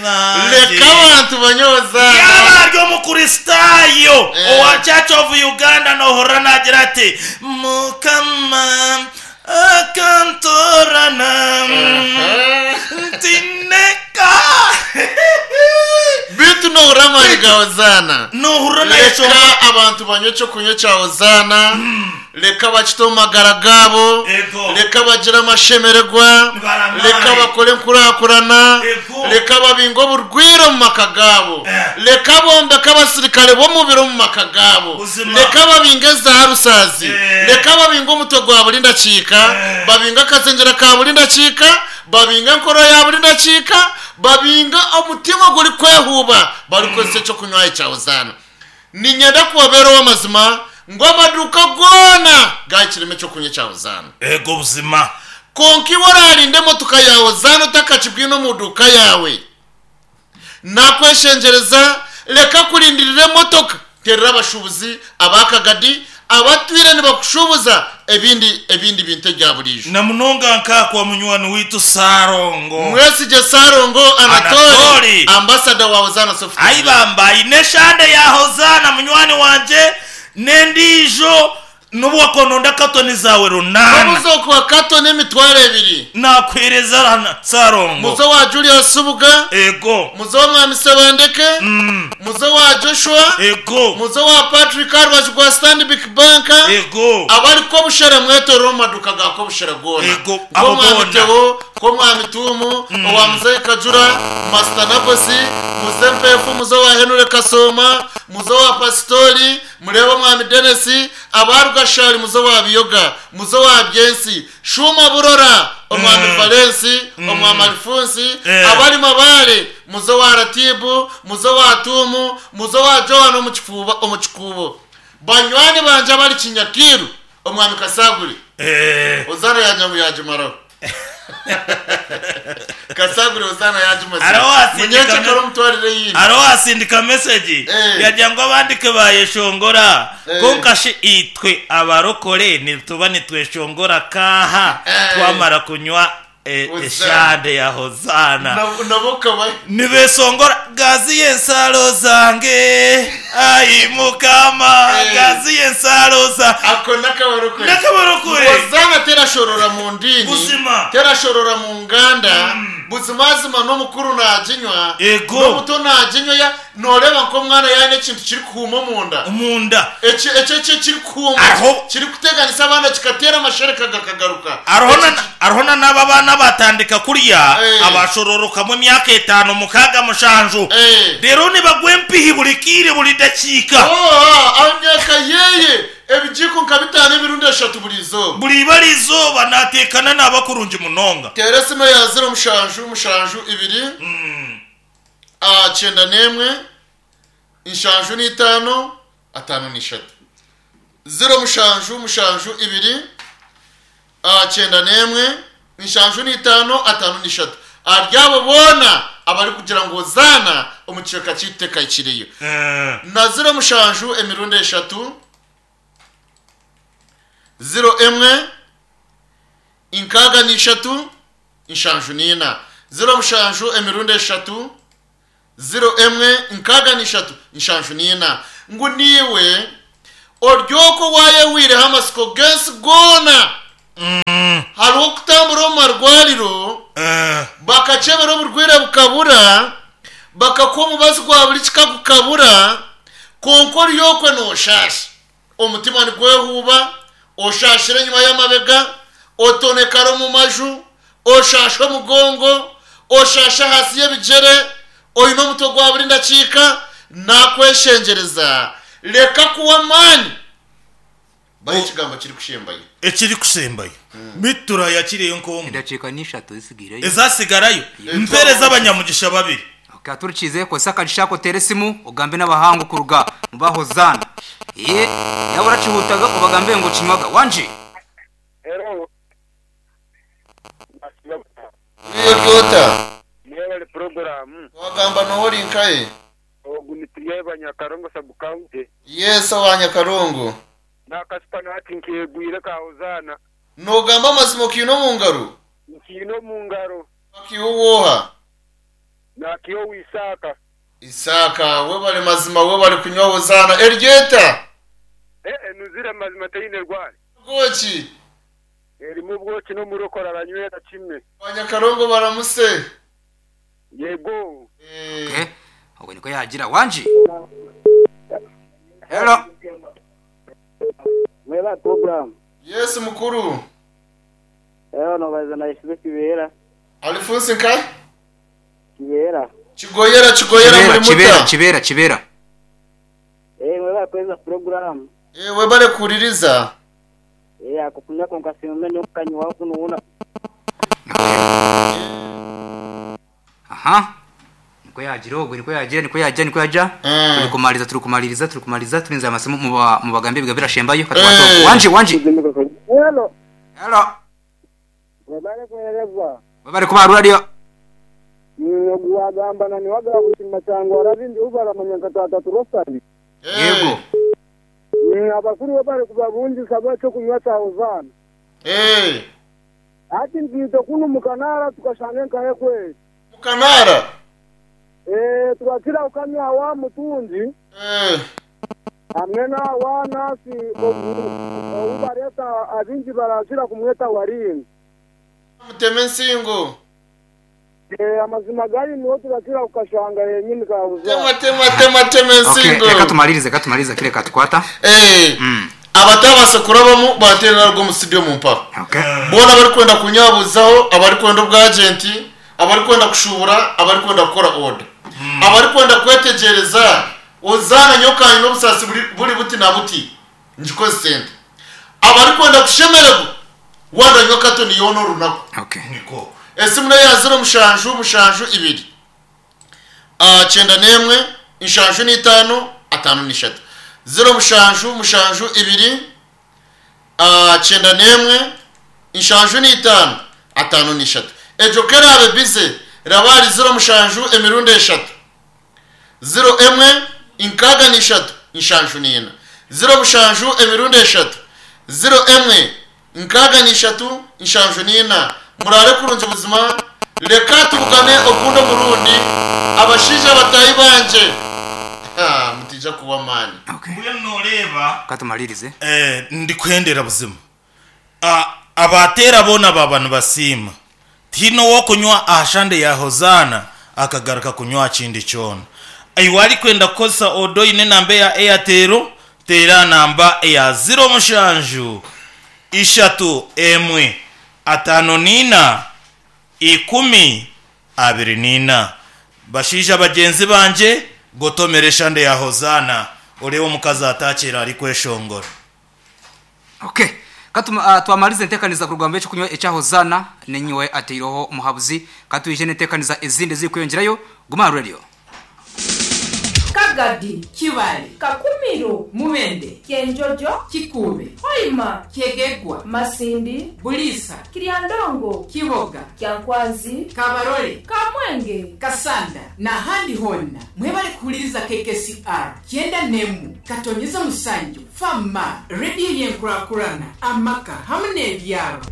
Leka abantu banywe Hozaana. Yaaba ari Omukristaayo Eh. owa Church of Uganda noohurira naagira ati, Mukama akantoorana ntineka. Beitu noohurira amaani ga Hozaana. Noohurira naayeshongora. Leka abantu banywe ekyokunywa ekya Hozaana. Leka bakite omu magara gaabo, Ego. leka bagire amashemererwa, Nibaramaare. leka bakore enkurakurana, Ego. leka babinge oburwaire omu maka gaabo, Eh. leka bombeke abasirikare b'omubiri omu maka gaabo, Buzima. leka babinge za rusaazi, Eh. leka babinge omutwe gwa buri ndakiika, Eh. babinge akazengyera ka buri ndakiika, babinge enkoro ya buri ndakiika, babinge omutima ogurikwehuuba barikukozesa ekyokunywa ekya Hozaana. Niinyenda kubabeera ow'amazima ngu amaduuka goona gaahikiremu eky'okunywa ekya Hozaana. Eego buzima. Kwonka iwe oraarinde emotoka ya Hozaana otakakibwine omu duuka yaawe? Naakweshengyereza, reka kurindirira emotoka. Teerera abashuubuzi aba Kagadi abatwire nibakushuubuza ebindi ebindi bintu ebya buriijo. Na munonga nka kwa munywani waitu Ssalongo. Mwesigye Ssalongo Anatoli, Anatoli. ambasada wa Hozaana Soft Ai Drink. bamba aine eshande ya Hozaana munywani wangye n'endiijo n'obu wakononda katoni zaawe runaana. Obuze okuha katoni emitwaro ebiri. Nakuheereza hana Ssalongo. Muze owa Julius Subuga. Ego. Muze owa Mwami Ssebandeke. Muze owa Joshua. Ego. Muze owa Patrick aha rubaju rwa Stanbic Bank. Ego. Abari Kobushera mwetorore omu maduuka ga Kobushera goona. Ego, abo Nk'omwami boona. Theo, nk'omwami Tuumu, owa Muzeeyi Kajura, Master Nabosi, muze Mpeefu, muze owa Henry Kasooma, muze owa Pasitori, mureebe omwami Denis, aba Rugashari muze owa Biyoga, muze owa Byensi, Shuuma Burora, omwami Valensi, omwami Alifunsi, abari Mabaare, muze owa Ratibu, muze owa Tuumu, muze owa Joan omu kifuuba omu kikuubo. Banywani bangye abari Kinyakiiru, omwami Kasaguri. Hozaana yaagira ngu yaagimaraho. Kasaguri Hozaana yaagimazire. Hariho owaatsindika Munyenkye kare omutwarire eyindi. Hariho owaatsindika mesegi Eh. yagira ngu abandi ku baayeshongora Eh. kwonka shi itwe abarokore nituba nitweshongora kaaha Eh. twamara kunywa eh, Hozaana. eshande ya Hozaana. Nabo nabo okaba Nibeshongora gaziya ensaro zange ai Mukama Eh. gaziya ensaro za Ako n'akabarokore. N'akabarokore. Hozaana terashorora mu ndiini, Buzima. terashorora mu nganda, buzimazima n'omukuru naaginywa, Ego. n'omuto naaginywa, ya nooreeba nk'omwana yaaba aine ekintu kirikuhuuma omunda. Omunda. Eki eki eki ekirikuhuuma Hariho- kirikuteganisa abaana kikateera amashereka gakagaruka. Hariho Eki na ki- hariho na n'abo abaana abatandika kurya Eh. abashororokamu emyaka etaano, mukaaga, mushanju. Eh. Reero nibagwa empihi buri kaire buri dakiika. Oo, aha myaka yeye ebigiiko nka bitaano emirundi eshatu buri izooba. Buri ibara izooba naateekana naaba kurungi munonga. Teera esimu eya ziro mushanju mushanju ibiri 91 75 53. 0 mushanju mushanju ibiri 91 75 53. Ahari abo boona abarikugira ngu Hozaana omu kicweka kyaitu tekahikireyo. Na ziro mushanju emirundi eshatu, ziro emwe, 63, 74. Ziro mushanju emirundi eshatu, ziro emwe, 63, 74. Ngu niiwe ori okwo waayehwireho amatsiko g'ensi goona. Hariho okutambura omu marwariro, bakakyebera oburwaire bukabura, bakakuha omubazi gwa buri kika gukabura, kwonka ori okwo nooshaasha. Omutima nigwehuuba, oshaashire enyima y'amabega, otonekara omu maju, oshaasha omugongo, oshaasha ahansi y'ebigyere, oine omutwe gwa buri ndakiika, nakweshengyereza, reka kuhwa amaani. Bahe ekigambo kirikushembayo. Ekirikushembayo. Beitu turaayakireyo nk'omwe. Edakiika ni ishatu ezitsigaireyo. Ezatsigarayo? Mpeereza abanyamugisha babiri. Ok, aturikiize, kozesa akagisha ako oteere esimu ogambe n'abahangu kuruga mu ba Hozaana. Ee, yaaba orakihuutaga obagambire ngu okinywaga. Wangi? Hello. Oriyo ori ota? Mwebale puroguramu. Wagamba noha ori nkahe? Ogu ni Turyeba Nyakarongo sub county. Yes owa Nyakarongo. Nakasupa nahati nkegwire ka Hozaana. Nogamba amazima okiine omu ngaro? Nkiine omu ngaro. Wakiiha owooha? Nakiyowa Isaaka. Isaaka, Webale mazima webale kunywa Hozaana. Eryo eta? Eh enuzire mazima teine rwari. Obwoki? Erimu obwoki n'omurokore aranywera kimwe. Abanyakarongo baramuse. Yego. Eh. Okay. Ogwo nikwo yaagira. Wangi? Hello. Mwebale program. Yes mukuru. Eeh nobaza na Isibe Kibeera. Alifunsi nka? Kibeera. Kigoyera Kigoyera Kibeera, muri Kibeera, muta? Kibeera, Kibeera. Eeh mwebale kuheereza program. Eeh webale kuhuririza. Eeh ako kunywa kwonka simume n'okukanywaho kunuuna. Okay. Aha. Nikwo yaagira ogwe, nikwo yaagira, nikwo yaagira, nikwo yaagira. Turi kumaririza, turi kumaririza, turi kumaririza, turinzire amasimu muba mubagambe ebigambo ebirashembayo. Katukwate ogu. Wangi, wangi. Hello. Hello. Webale kuheereza. Webale kuba aha rwariyo. Ogu waagamba na niwe agaabushima kyangwa arabindi ou baramanya nka Taata Turosani. Yego. Abakuru webale kubabungisa bw'ekyokunywa kya Hozaana. Hati nitwija kunu mu Kanaara tukashanga enkahe kweri. Mu Kanaara? Turakira kukanywa awa Mutungi hamwe n'awa Nasi ogu ou bareeta abaingi barakira kumweta Waringa. Muteme ensingo. Amazima gari niho turakira kukashanga henyini Tema tema tema tema Okay, ensingo. reka tumalirize, reka tumalirize kire katukwata. Abatabaasa kurabamu baateera naruga omu studio mumpaho. Okay. Boona abarikwenda kunyabuuzaho, abarikwenda obwagenti, abarikwenda kushuubura, abarikwenda kukora oda, abarikwenda kwetegyereza Hozaana nyowe ka nyine obusaasi buri buri buti na buti ngikozese nta, abarikwenda kushemererwa waandanywa katoni yoona orunaku. Okay. Niko. Esimu n'eya ziro mushanju mushanju ibiri kyenda n'emwe nshanju n'itaano ataano n'ishatu. Ziro mushanju mushanju ibiri kyenda n'emwe nshanju n'itaano ataano n'ishatu. Egyo ku eraabe bize raba ahari ziro mushanju emirundi eshatu ziro emwe nkaaga n'ishatu nshanju n'ina. Ziro mushanju emirundi eshatu ziro emwe nkaaga n'ishatu nshanju n'ina. Muraare kurungi buzima, reka tubugane ogundi omurundi, abashaija bataahi bangye. Ha, mutaija kuhwa amaani. Okay. Mbwenu nooreeba. Ka tumaririze. Eh, ndikuhendera buzima. A, abateera boona baaba nibasiima. Tihaine ow'okunywa aha shande ya Hozaana akagaruka kunywa aha kindi kyona. Iwe arikwenda kukozesa oda oine enamba eya Airtel, teera aha namba eya ziro mushanju, ishatu, emwe, ataano n'eina, ikumi, abiri n'eina. Bashaija bagyenzi bangye, gotomera eshande ya Hozaana oreebe omukazi ataakiire arikweshongora. Okay. Ka twamariza enteekaniza kuruga omu by'eky'okunywa ekya Hozaana, n'enyiwe ateireho omuhabuzi. Ka twije n'enteekaniza ezindi ezirikweyongyerayo. Guma aha Radio. Kagadi, Kibale, Kakumiro, Mubende, Kyenjojo, Kikuube, Hoima, Kyegegwa, Masindi, Buliisa, Kiryandongo, Kiboga, Kyankwanzi, Kabarole, Kamwenge, Kasanda n'ahandi hoona. Mwebale kuhuririza KKCR kyenda n'emwe katonyeza mushanju, Fama, rediyo y'enkurakurana, amaka hamwe n'ebyaro.